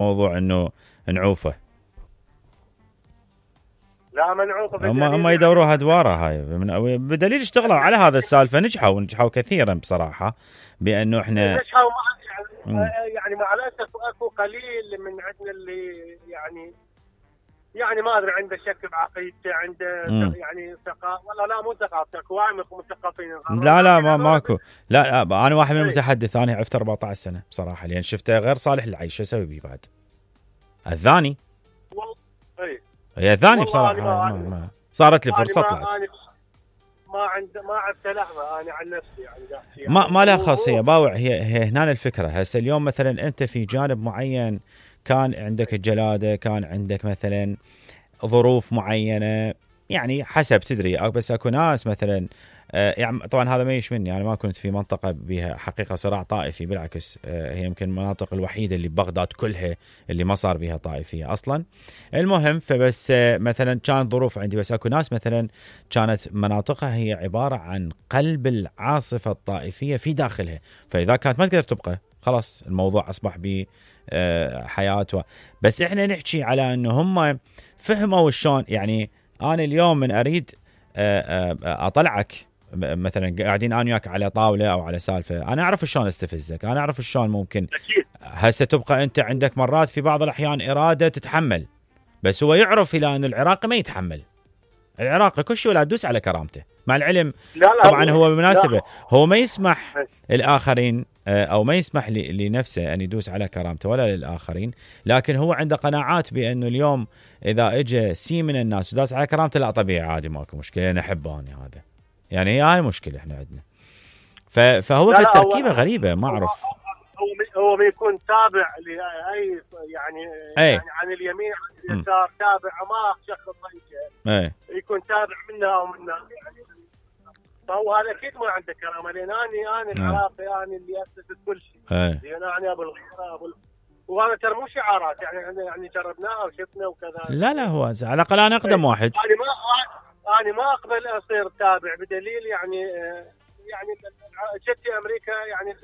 موضوع انه نعوفه. لا منعوفه، هم يدوروها ادواره هاي بدليل اشتغلوا على هذا السالفه، نجحوا كثيرا بصراحه، بانه احنا نجحوا يعني مع الاسف اكو قليل من عندنا اللي يعني ما ادري عنده شك بعقيدته، عنده يعني ثقافه، والله لا مو ثقافه، اكو وايد مثقفين. لا ماكو. لا انا واحد من المتحدث، انا عفت 14 سنه بصراحه، لان شفته غير صالح للعيش، شو اسوي بيه بعد؟ الثاني والله هي الثاني بصراحه ما صارت لي فرصه طلعت. ما عدت لحظه انا عن نفسي يعني ما لها خاصيه باوع. هي هنا الفكره. هسه اليوم مثلا انت في جانب معين كان عندك الجلاده، كان عندك مثلا ظروف معينه، يعني حسب تدري. بس اكو ناس مثلا يعني طبعا هذا ما يشملني، انا ما كنت في منطقه بها حقيقه صراع طائفي، بالعكس هي يمكن المناطق الوحيده اللي ببغداد كلها اللي ما صار بها طائفيه اصلا. المهم فبس مثلا كانت ظروف عندي، بس اكو ناس مثلا كانت مناطقها هي عباره عن قلب العاصفه الطائفيه في داخلها، فاذا كانت ما تقدر تبقى خلاص الموضوع اصبح ب حياته. بس احنا نحكي على انه هم فهموا شلون. يعني انا اليوم من اريد اطلعك مثلا قاعدين انا وياك على طاوله او على سالفه، انا اعرف شلون استفزك، انا اعرف شلون ممكن هسه تبقى انت عندك مرات في بعض الاحيان اراده تتحمل، بس هو يعرف الى ان العراقي ما يتحمل. العراقي كل شيء ولا تدوس على كرامته، مع العلم طبعا هو بالمناسبه هو ما يسمح الاخرين او ما يسمح لنفسه ان يدوس على كرامته ولا للاخرين، لكن هو عنده قناعات بانه اليوم اذا اجى سي من الناس وداس على كرامته لا طبيعي عادي ماكو مشكله، انا احبه انا هذا. يعني هاي مشكله احنا عندنا. فهو في التركيبه غريبه ما اعرف. هو بيكون تابع لاي يعني عن اليمين عن اليسار، تابع ما شخص طيب يكون تابع منه او منه يعني. فهو هذا اكيد ما عنده كرامه، لان انا العراقي انا اللي اسست كل شيء. لان انا ابو الغيره وهذا ترى مو شعارات، يعني جربناها وشفنا وكذا. لا هو على الاقل انا اقدم واحد. انا ما اقبل اصير تابع بدليل يعني جتي امريكا يعني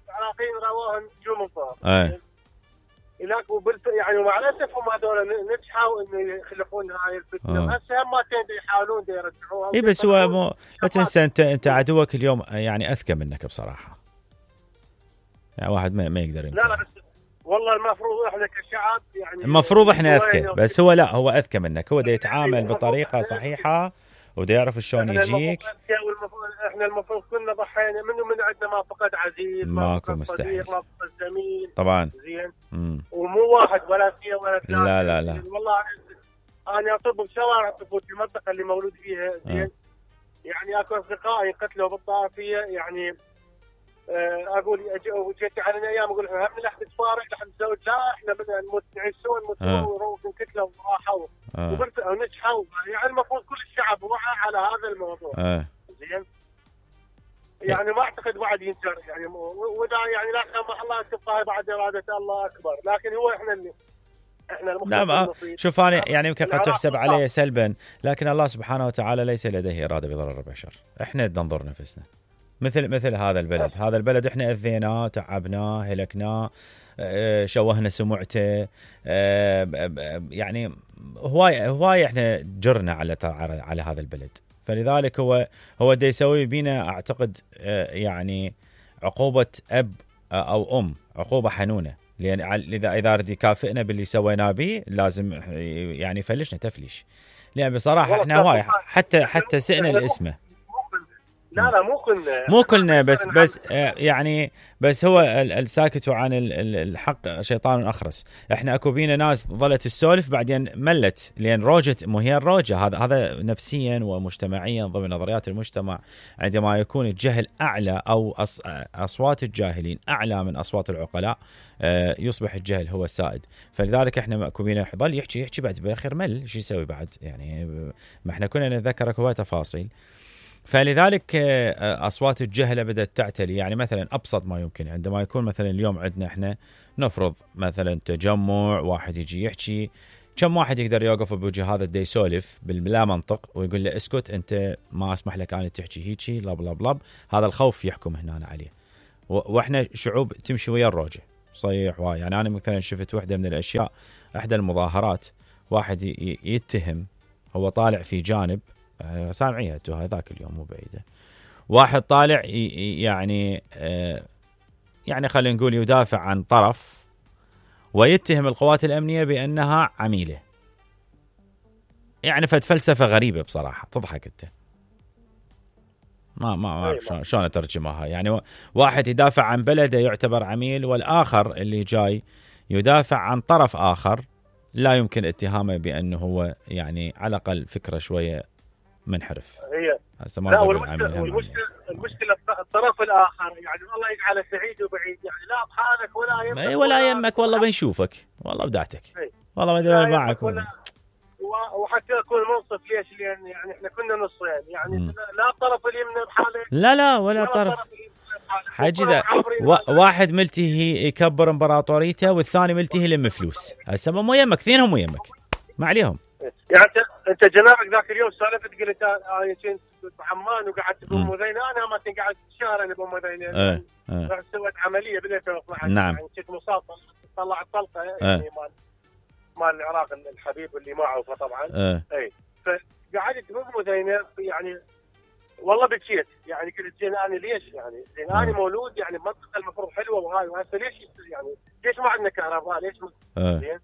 العراقيين راوهم نجوم الظهر. يعني ومع الاسف هم هذول نجحوا انه يخلقون هاي الفتنه. هسه هم يحاولون يرجعوها. اي بس هو لا تنسى انت عدوك اليوم يعني اذكى منك بصراحه. يعني واحد ما يقدر يمكن. لا بس والله المفروض احنا كشعب يعني المفروض احنا اذكى، بس هو لا هو اذكى منك، هو دا يتعامل بطريقه صحيحه ودا يعرف شلون يجيك. احنا المفروض كنا ضحينا منه، من عندنا ما فقد عزيز، ماكو مستحيل، ما فقد زميل طبعا زين. ومو واحد ولا اثنين ولا ثلاثه. لا والله انا اطب بشوارع طفوت في المنطقه اللي مولود فيها زين. يعني اكو اصدقائي قتلوا بالطائفيه، يعني اقول جيت على ايام اقول احنا هم لحد تفارق لحد نسوي، لا احنا بدنا نموت نعيشون ونكتلوا وراحوا ونجحوا. يعني المفروض كل الشعب وعى على هذا الموضوع زين. يعني ما اعتقد واحد ينكر يعني، ودا يعني لا سمح الله تبقى بعد اراده الله اكبر، لكن هو احنا لا شوف انا يعني يمكن قد تحسب علي سلبا، لكن الله سبحانه وتعالى ليس لديه اراده بضرر البشر. احنا ننظر نفسنا مثل هذا البلد. هذا البلد احنا اذيناه، تعبناه، هلكناه، شوهنا سمعته، يعني هواي احنا جرنا على هذا البلد. فلذلك هو دا يسوي بينا اعتقد يعني عقوبه اب او ام، عقوبه حنونه، لان اذا رد يكافئنا باللي سويناه به لازم يعني يفلشنا تفليش. لان بصراحه احنا هواي حتى سئنا الاسمه. لا مو كلنا بس يعني بس هو الساكت عن الحق شيطان اخرس. احنا اكو بينا ناس ظلت السولف بعدين ملت، لان روجت، مو هي الروجه. هذا نفسيا ومجتمعيا ضمن نظريات المجتمع. عندما يكون الجهل اعلى او اصوات الجاهلين اعلى من اصوات العقلاء يصبح الجهل هو السائد. فلذلك احنا اكو بينا يضل يحكي بعد بالاخير مل شو يسوي بعد. يعني ما احنا كنا نتذكر هواي تفاصيل. فلذلك أصوات الجهلة بدأت تعتلي. يعني مثلا أبسط ما يمكن عندما يكون مثلا اليوم عندنا إحنا نفرض مثلا تجمع، واحد يجي يحكي، كم واحد يقدر يوقف بوجه هذا دا يسولف بلا منطق ويقول له اسكت أنت ما أسمح لك أن تحكي هيجي لب. هذا الخوف يحكم هنا عليه. وإحنا شعوب تمشي ويا الروجة، صيح يعني انا مثلا شفت وحده من الاشياء، احدى المظاهرات، واحد يتهم، هو طالع في جانب، سامعيها انتو هذاك اليوم مو بعيده، واحد طالع يعني يعني خلينا نقول يدافع عن طرف، ويتهم القوات الامنيه بانها عميله. يعني فلسفه غريبه بصراحه، تضحك انت. ما اعرف شلون اترجمها. يعني واحد يدافع عن بلده يعتبر عميل، والاخر اللي جاي يدافع عن طرف اخر لا يمكن اتهامه بانه هو يعني على الاقل فكره شويه منحرف. هي لا، المشكله الطرف الاخر، يعني الله يجعله سعيد وبعيد، يعني لا بحالك ولا يمك ولا يمك، والله بنشوفك، والله بدعتك، والله ما ادري معك وحتى يكون منصف. ليش؟ لان يعني احنا كنا نصين، يعني لا الطرف اليمنى بحاله، لا ولا طرف حاجي ذا. واحد ملتهي يكبر امبراطوريته، والثاني ملتهي يلم فلوس. هسه مو يمك، اثنينهم مو يمك، ما عليهم. يعني انت جنابك ذاك اليوم سالفت، قلت انا كنت بعمان وقعدت بام ذينه، انا ما كنت قاعد في الشارع انا بام ذينه. رحت سويت عمليه بال 2012. نعم. يعني كنت مصاب، طلعت طلقه يعني مال العراق الحبيب اللي معه طبعا. اي فقعدت بام ذينه، يعني والله بكيت. يعني قلت زين انا ليش؟ يعني زين انا مولود يعني بمنطقه المفروض حلوه وهاي، وهسه ليش يعني ليش ما عندنا كهرباء؟ ليش زين؟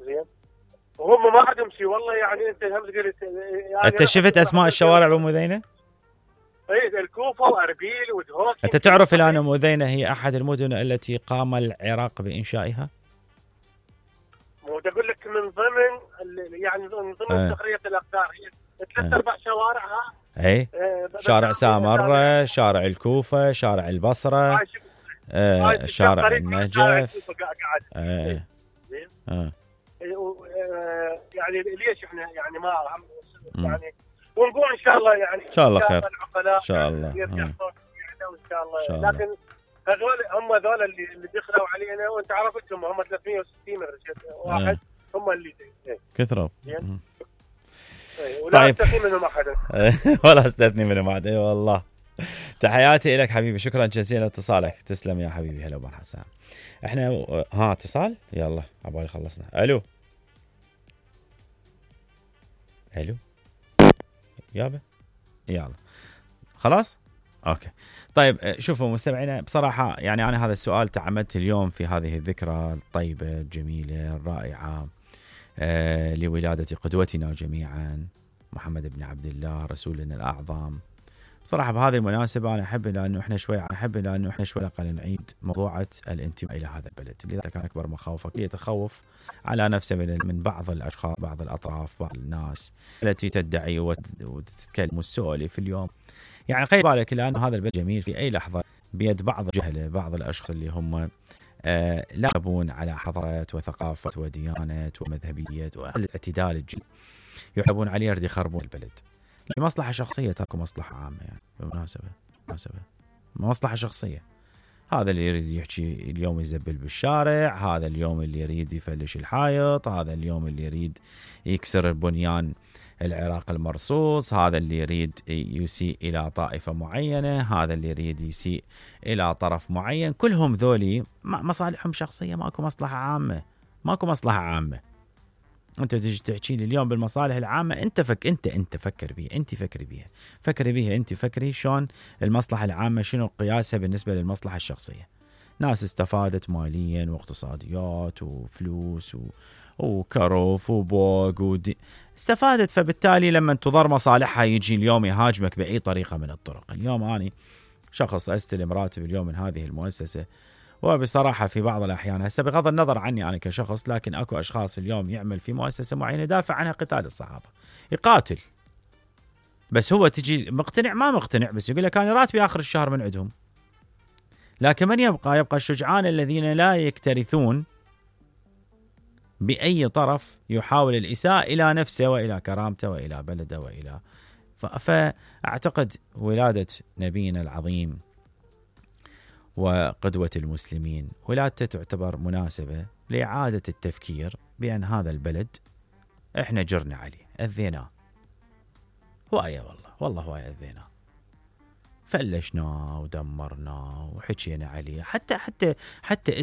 زين وهم ما عندهم شيء. والله يعني انت هم قلت يعني انت شفت اسماء الشوارع بأم ذينه؟ اي الكوفه واربيل ودهوك. انت تعرف الان أم ذينه هي احد المدن التي قام العراق بانشائها؟ مو اقول لك من ضمن يعني من ضمن تخرية الاقدار، هي 3-4 شوارعها. اي شارع سامره، شارع الكوفه، شارع البصره، شارع النجف. يعني ليش احنا يعني ما يعني ونقول ان شاء الله، يعني ان شاء الله خير ان شاء الله ان شاء الله. لكن هذول هم ذول اللي دخلوا علينا، وانت عرفتهم هم 360 واحد هم اللي كثروا. ولا استثني منهم احد. ولا استثني منهم احد. اي والله. تحياتي لك حبيبي، شكرا جزيلا لاتصالك، تسلم يا حبيبي. هلا ابو حسان. احنا اتصال، يلا عبالي خلصنا. الو يابا، يلا خلاص اوكي. طيب شوفوا مستمعينا، بصراحه يعني انا هذا السؤال تعمدت اليوم في هذه الذكرى الطيبه الجميله الرائعه لولاده قدوتنا جميعا محمد بن عبد الله رسولنا الاعظم. صراحة بهذه المناسبة أنا أحب لأنه إحنا شوي أقل نعيد موضوعة الانتماء إلى هذا البلد. لذلك كان أكبر مخاوفك يتخوف على نفسه من بعض الأشخاص، بعض الأطراف، بعض الناس التي تدعي وتتكلم وتسولف اليوم. يعني خلي بالك لأن هذا البلد جميل في أي لحظة بيد بعض الجهلة، بعض الأشخاص اللي هم لا يحبون على حضارة وثقافة وديانة ومذهبية والاعتدال الجديد، يحبون عليه يرد يخربون البلد لمصلحة شخصية تاكو مصلحة عامة. يعني بالمناسبة مصلحة شخصية. هذا اللي يريد يحكي اليوم يزبل بالشارع، هذا اليوم اللي يريد يفلش الحائط، هذا اليوم اللي يريد يكسر البنيان العراق المرصوص، هذا اللي يريد يسيء إلى طائفة معينة، هذا اللي يريد يسيء إلى طرف معين. كلهم ذولي مصالحهم شخصية، ماكو مصلحة عامة، ماكو مصلحة عامة. انت تجي تحكي لي اليوم بالمصالح العامه، انت فكر بيها، انت فكري بيها، انت فكري شلون المصلحه العامه شنو قياسها بالنسبه للمصلحه الشخصيه. ناس استفادت ماليا واقتصاديات وفلوس وكروف وبوق استفادت، فبالتالي لما تضر مصالحها يجي اليوم يهاجمك باي طريقه من الطرق. اليوم اني شخص استلم راتب اليوم من هذه المؤسسه، وبصراحة في بعض الأحيان هسه بغض النظر عني أنا كشخص، لكن أكو أشخاص اليوم يعمل في مؤسسة معينة يدافع عنها قتال الصحابة، يقاتل، بس هو تجي مقتنع ما مقتنع، بس يقول لك أنا راتبي آخر الشهر من عندهم. لكن من يبقى الشجعان الذين لا يكترثون بأي طرف يحاول الإساءة إلى نفسه وإلى كرامته وإلى بلده وإلى فأعتقد ولادة نبينا العظيم وقدوة المسلمين ولادته تعتبر مناسبة لإعادة التفكير بأن هذا البلد إحنا جرنا عليه، أذيناه هواية، والله هواية أذيناه. فلشناه ودمرناه وحكينا عليه، حتى